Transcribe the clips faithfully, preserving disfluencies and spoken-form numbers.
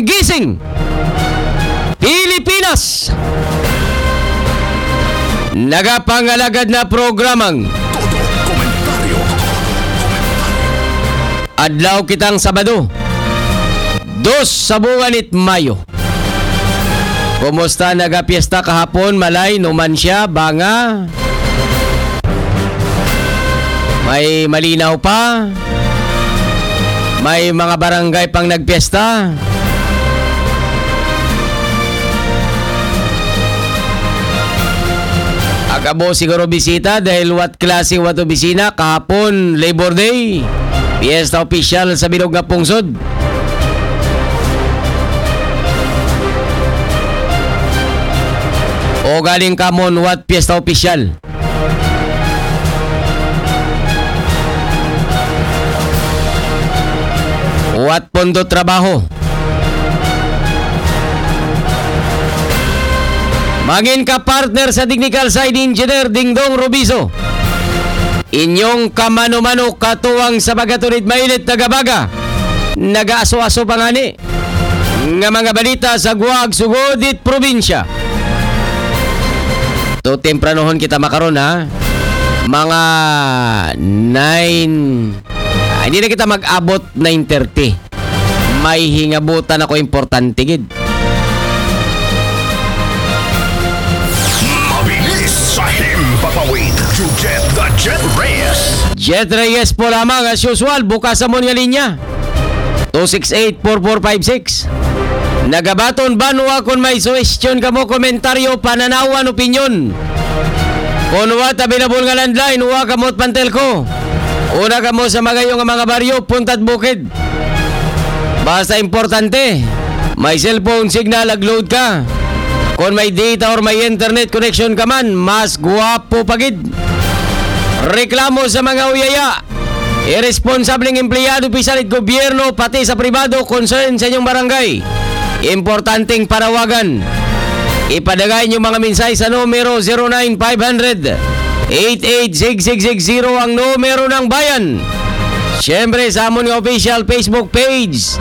Gising Pilipinas. Nagapangalagad na programang Todo Komentaryo. Adlaw kitang Sabado, dos sa buwan it Mayo. Kumusta nagapiesta kahapon, Malay, Numancia, Banga? May malinaw pa? May mga barangay pang nagpiesta? Agabo siguro bisita dahil wat klase, wat opisina, kahapon Labor Day. Piyesta opisyal sa bilog nga pungsod. O galing kamon, wat piyesta opisyal? Wat pondo trabaho? Mangin ka partner sa technical side, Engineer Dingdong Rubiso. Inyong kamano-mano katuwang sa pagaturid mainit, nagabaga, nagaaso-aso pa ngani nga mga balita sa guwag sugod it probinsya. To, tempranohon kita makaron, ha. Mga nine, ah, hindi na kita mag-abot nine thirty. May hingabutan ako importante gid. Mabilis sa himpapawid, Jujet the Jet Reyes. Jet Reyes po lamang, as usual, bukas sa mo nga linya. Two six eight, four four five six. Nagabaton banwa, kung may suwestyon kamo, komentaryo, pananawan, opinyon. Kung wa ta available nga landline, wa kamo pantelko. Una kamo sa magayo nga mga baryo, puntad bukid. Basta importante, may cellphone signal, ag load ka. Kung may data or may internet connection ka man, mas guwapo pa gid. Reklamo sa mga uyaya. Irresponsableng empleyado, opisyal it gobyerno, pati sa pribado, concern sa inyong barangay. Importanteng panawagan. Ipadagay inyong mga mensahe sa numero zero nine five hundred, eight eight six six six zero, ang numero ng bayan. Siyempre, sa amon nga official Facebook page,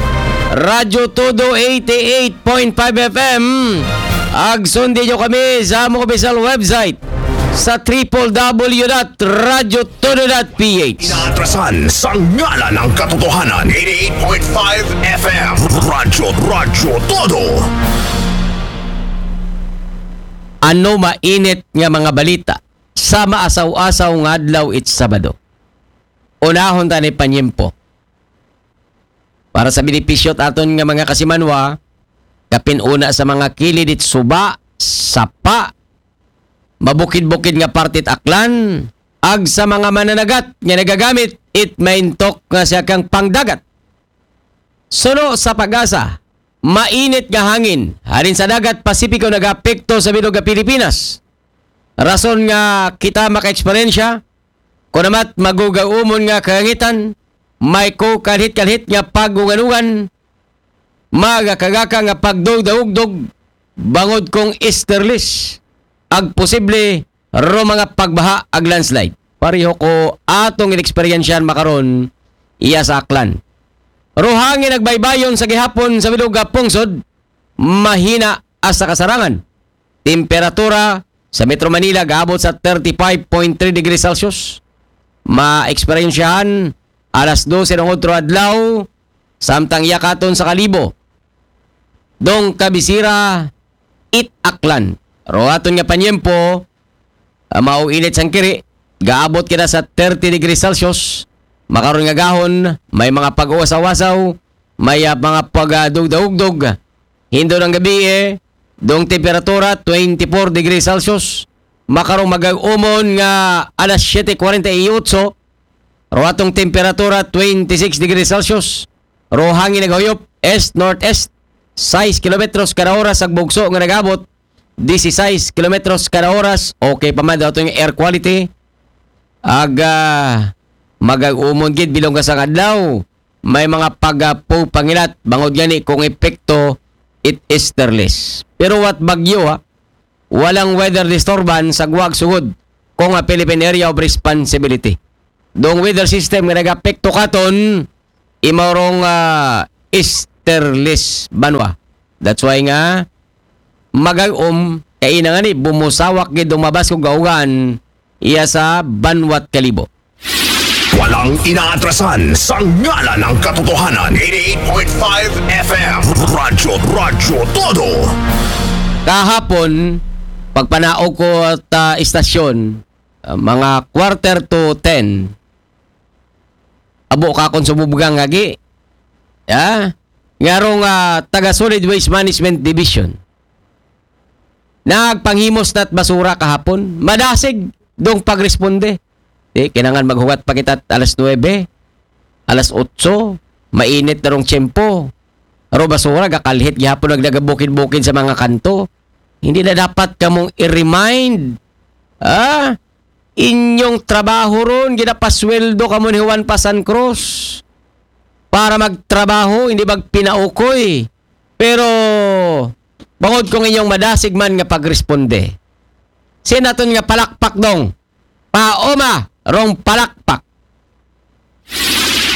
Radyo Todo eighty-eight point five F M. Ag sundin nyo kami sa among official website sa triple W dot radyo todo dot P H. Inaatrasan sa ngalan ng katotohanan. Eighty-eight point five F M. Radyo, Radyo Todo. Ano mainit nga mga balita sa maasaw-asaw nga adlaw it Sabado? Unahon ta ni panyempo. Para sa benepisyo ta aton nga mga kasimanwa, kapin una sa mga kilid it suba, sapa, mabukid-bukid nga parte it aklan, ag sa mga mananagat nga nagagamit it maintok nga sakang pangdagat. Suno sa PAGASA, mainit nga hangin halin sa dagat Pasipiko nagaapekto sa bilog nga Pilipinas. Rason nga kita makaeksperyensya, kunamat magugaumon nga kalangitan, may kukalhit-kalhit nga paguganugan, magakagaka nga pagdugdaugdog, bangod kung easterlies, ag posible ro mga pagbaha ag landslide. Pareho ko atong ineksperyensyahan makaron iya sa Aklan. Ro hangin nagbaybayon sa gihapon sa bilog nga pungsod, mahina hasta kasarangan. Temperatura sa Metro Manila gaabot sa thirty-five point three degrees Celsius. Maeksperyensyahan alas dose ng otro adlaw, samtang yakaton sa Kalibo. Dong kabisira it Aklan. Ro aton nga panyempo, ah, mao init sang kiri, gaabot kita sa thirty degrees Celsius. Makaron nga gahon, may mga pag-uwasaw-wasaw, may, ah, mga pagdugdaugdog. Hindo ng gabi, eh, dong temperatura, twenty-four degrees Celsius. Makarong mag-umon nga alas siyete kwarenta y otso, ro atong temperatura, twenty-six degrees Celsius. Ro hangin naghuyop, east-northeast, sais kilometros kada oras. Ang bugso nga nagabot, disisais kilometros kada oras. Okay pa man daw atong air quality. Aga, magag-umon gid bilong ka sa adlaw. May mga pagapo pangilat, bangod gani kung epekto it easterlies. Pero what bagyo, ha? Walang weather disturbance sa guwag sugod kung a Philippine Area of Responsibility. Dong weather system nga nagapekto katon, imaw rong, ah, east borderless banwa. That's why nga magag-om kay ina nga ni bumusawak gid dumabas kung gaugan iya sa banwat Kalibo. Walang inaatrasan sa ngalan ng katotohanan. Eighty-eight point five F M. Radyo, Radyo Todo. Kahapon, pagpanaog ko at ah, istasyon, ah, mga quarter to ten, abo ka kung sumubugang agi. Ya? Nga rong ah, taga Solid Waste Management Division. Nagpanghimos na't basura kahapon. Madasig dong pagresponde. Di, kinangan maghugat pa kita alas nuebe, alas otso, mainit na rong tiyempo. Aro basura, gakalhit gihapon nagdagabukid-bukid sa mga kanto. Hindi na dapat kamong i-remind. Ah? Inyong trabaho ron, ginapasweldo kamo ni Juan Pasan Cruz para magtrabaho, hindi magpinaukoy. Pero, bangod kung inyong madasig man nga pagresponde, sinaton nga palakpak dong. Paoma, rong palakpak.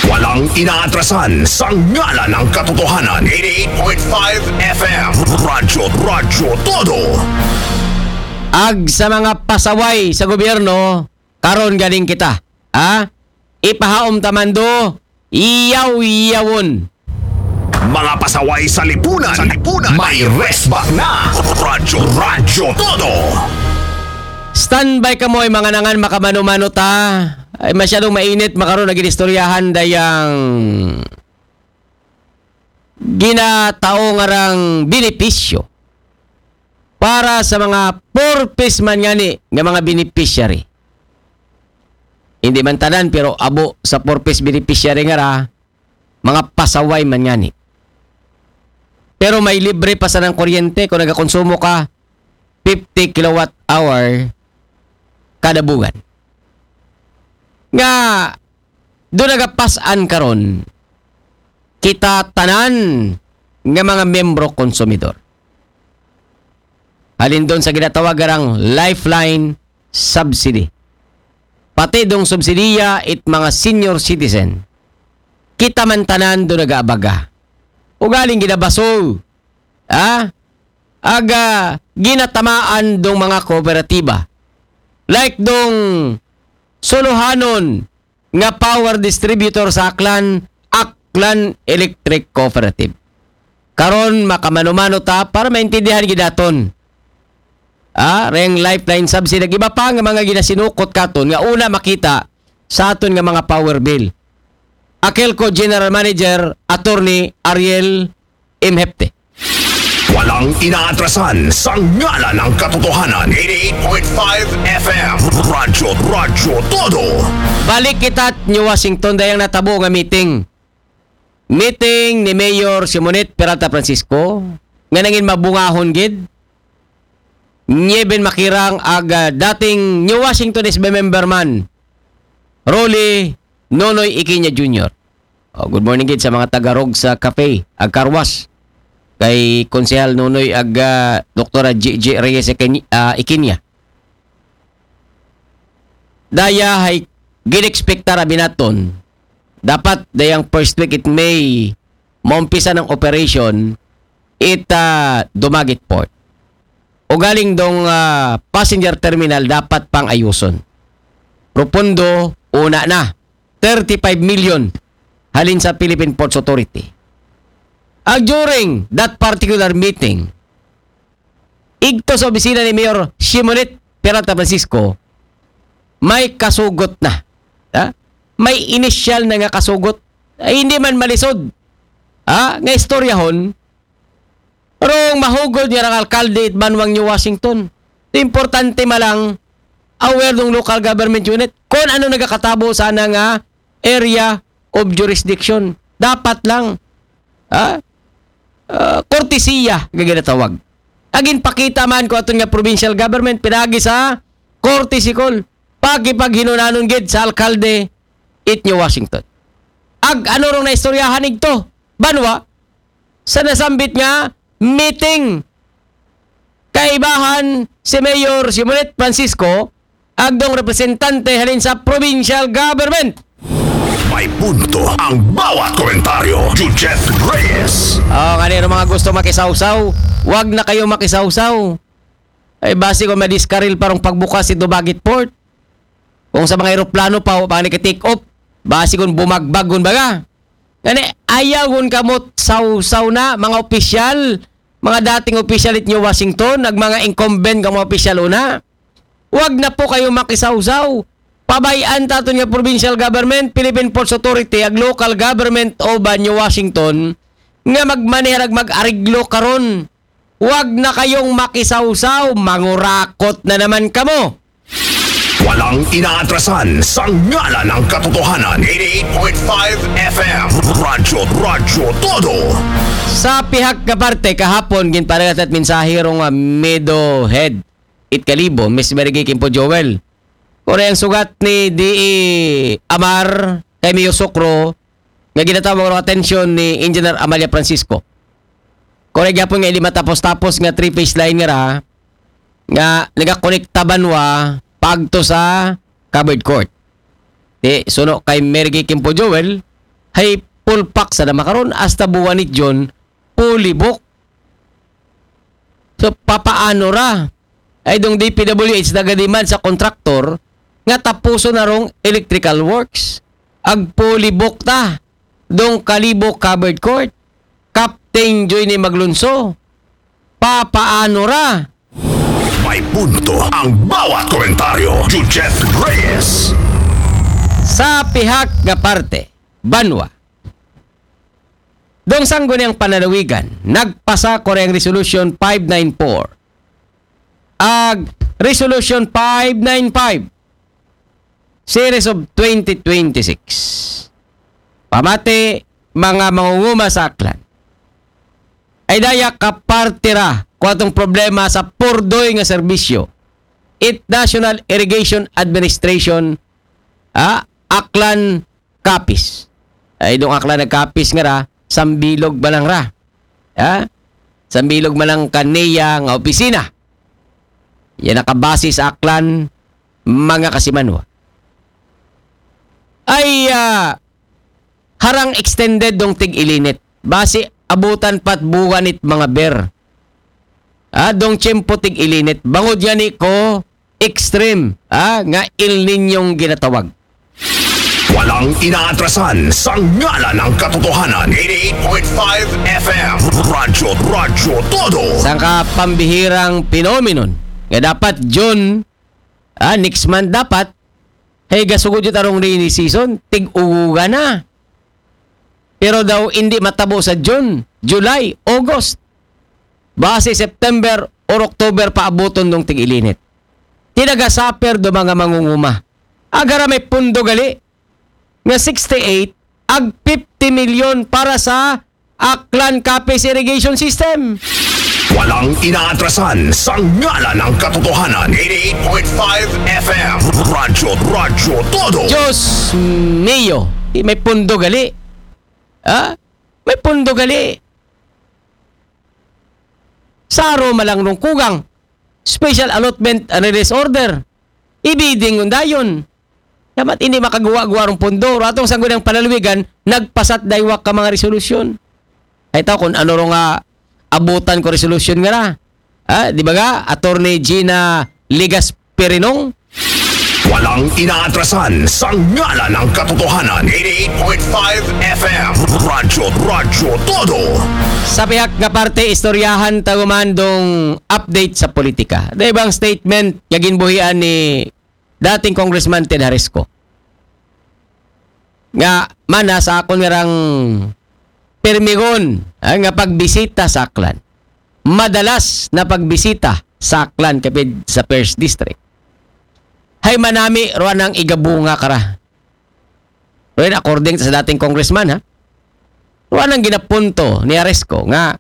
Walang inaatrasan sa ngalan ng katotohanan. Eighty-eight point five F M. Radyo, Radyo Todo. Ag sa mga pasaway sa gobyerno, karon galing kita. Ha? Ipahaom tamando, iyaw-iyawon. Mga pasaway sa lipunan. Sa lipunan. May resback na. Radyo, Radyo Todo. Standby ka mo ay mga nangan makamano-mano ta. Ay masyadong mainit, makaroon na ginistoryahan dayang ginatao nga rang benepisyo para sa mga purpose man ngani nga mga beneficiary. Hindi man tanan, pero abo sa purpose beneficiary nga ra, mga pasaway man ngani. Pero may libre pa sa ng kuryente kung nagakonsumo ka fifty kilowatt hour kada buwan. Nga, do nagapasan karon kita tanan nga mga membro konsumidor. Halin doon sa ginatawag arang lifeline subsidy. Pati dong subsidiya it mga senior citizen. Kita man tanan do nagaabaga. Ugaling ginabaso. Ha? Aga ginatamaan dong mga kooperatiba. Like dong suluhanon nga power distributor sa Aklan, Aklan Electric Cooperative. Karon makamano-mano ta para maintindihan gidaton. Ah, reng lifeline subsidy, iba pa nga mga ginasinukot katon nga una makita sa aton nga mga power bill. Akelco General Manager Attorney Ariel M. Hepte. Walang inaatrasan sa ngalan ng katotohanan. Eighty-eight point five F M. Radyo, Radyo Todo. Balik kita New Washington dayang natabo nga meeting. Meeting ni Mayor Simonette Peralta Francisco nga nangin mabungahon gid. Nieben Makirang ag ah, dating New Washington S B member man, Rolly Nonoy Ikinya Junior. Oh, good morning gid sa mga tagarog sa cafe ag karwas kay Konsehal Nonoy ag ah, Doktora G J Reyes Ikin- ah, Ikinya. Daya hay ginexpectar abinaton. Dapat dayang first week it May maumpisa ng operation it ah, Dumaguete Port. O galing dong ah, passenger terminal dapat pang ayuson. Profundo, una na. Thirty-five million halin sa Philippine Ports Authority. Ag during that particular meeting, igto sa opisina ni Mayor Shimonit Peralta Francisco, may kasugot na. Ha? May initial na nga kasugot. Ay, hindi man malisod. Ha? Nga istoryahon, rong mahugod nga rang alkalde it banwang New Washington. Importante malang aware ng local government unit kung ano nagakatabo sana nga area of jurisdiction. Dapat lang. Ha? Ah, kortesiya nga ginatawag. Agin pakita man ko aton nga provincial government pinagi sa courtesy call. Pagipaghinunanon gid sa alkalde it New Washington. Ag ano rong naistoryahan igto? Banwa sa nasambit nga meeting. Kaibahan si Mayor Simonet Francisco, agdong representante halin sa provincial government. May punto ang bawat komentaryo. Jujet Reyes. Oh, kanino mga gusto makisawsaw? Wag na kayo makisawsaw. Ay, basi kung madiskaril parang pagbukas ito Bagit Port. Kung sa mga eroplano pa, o pa take off. Basi kung bumagbag kung baga. Ngani, ayaw kung kamot sawsaw na, mga opisyal, mga dating opisyal it New Washington, ag mga incumbent nga mga opisyal una. Wag na po kayo makisawsaw. Pabayaan taton nga provincial government, Philippine Ports Authority, ag local government of uh, New Washington nga magmanehar ag mag-ariglo karon. Wag na kayong makisawsaw, mangurakot na naman kamo. Walang inaatrasan sa ngalan ng katotohanan. Eighty-eight point five F M. Radyo, Radyo Todo. Sa pihak nga parte, kahapon, ginparagat at mensahe rong uh, Meadow Head, it Kalibo, Miss Mary Gay Kimpo Joel. Kore ang sugat ni D E Amar kay Mio Sokro nga ginatawag ang atensyon ni Engineer Amalia Francisco. Kore gyapon nga ili matapos-tapos nga three-phase line nga ra nga nagakonekta banwa pagto sa covered court. Di, suno kay Mary Gay Kimpo Joel, hay pulpak sa na makaron hasta buwan ni June, pulibok. So, papaano ra? Ay dong D P W H nagadiman sa kontraktor nga tapuso na rong electrical works. Agpulibok ta dong Kalibo Covered Court. Captain Joy ni Maglunso. Papaano ra? May punto ang bawat komentaryo. Jujet Reyes. Sa pihak nga parte, banwa. Dong sangguniang pananawigan, nagpasa ko ang Resolution five nine four. Ag Resolution five nine five, Series of twenty twenty-six. Pamati, mga mangunguma sa Aklan. Ay daya ka parte ra ko atong problema sa purdoy nga serbisyo. It National Irrigation Administration, ah, Aklan Capiz. Ay dong Aklan nagkapis nga ra, sambilog ba lang ra? Ha? Sambilog man lang kaniya nga opisina. Yan nakabase sa Aklan, mga kasimanwa. Ay, ah, harang extended dong tig-ilinit. Basi abutan pat buwan it mga ber. Ah, dong tiyempo tig-ilinit. Bangod nga ni ko extreme, ah, nga El Niñong ginatawag. Walang inaatrasan sa ngalan ng katotohanan. Eighty-eight point five F M. Radyo, Radyo Todo. Sangka pambihirang phenomenon nga dapat June, ah, next month dapat, hey, gasugod yung tarong rainy season, tig-uguga na. Pero daw hindi matabo sa June, July, August. Base September or October paabuton dong tig-ilinit. Tinaga-suffer do mga mangunguma. Agara may pundo gali nga sixty-eight ag fifty million para sa Aklan Capiz Irrigation System. Walang inaatrasan sa ngalan ng katotohanan. Eighty-eight point five F M. Radyo, Radyo Todo. Diyos mio, di may pundo gali. Ha? May pundo gali. Saro malang rong kugang. Special allotment and release order. Ibiding undayon. Dapat hindi makagawa-gawa rong pundo. Ratong sangguniang pananawigan, nagpasat daywak ka mga resolusyon. Ay tao kung ano rong nga abutan ko resolusyon nga na. Ah, di ba ga? Attorney Gina Ligas Pirinong? Walang inaatrasan sa ngalan ng katotohanan. Eighty-eight point five F M. Radyo, Radyo Todo. Sa pihak nga parte, istoryahan ta guman dong update sa politika. Dahil bang statement nga ginbuhian ni dating Congressman Ted Harisco. Nga mana sa akon nga rang permigon, ah, nga pagbisita sa Aklan. Madalas na pagbisita sa Aklan kapid sa First District. Hay manami ruan ang igabunga kara. Rin according sa dating congressman, ha? Ruan ang ginapunto ni Harisco nga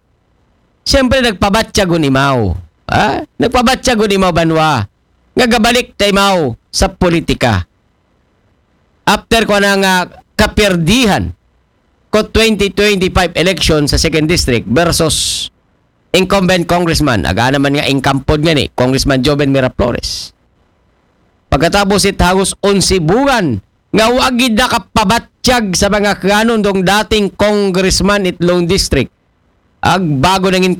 siyempre nagpabatya gunimaw. Ha? Nagpabatya gunimaw banwa nga gabalik taymaw sa politika. After ko na nga kapirdihan ko twenty twenty-five election sa second district versus incumbent congressman, aga naman nga incumbent nga ni Congressman Joven Miraflores. Pagkatapos it hagos onse buwan nga wagid na kapabat nagtiyag sa mga kanon dong dating congressman it Long District. Ag bago nangin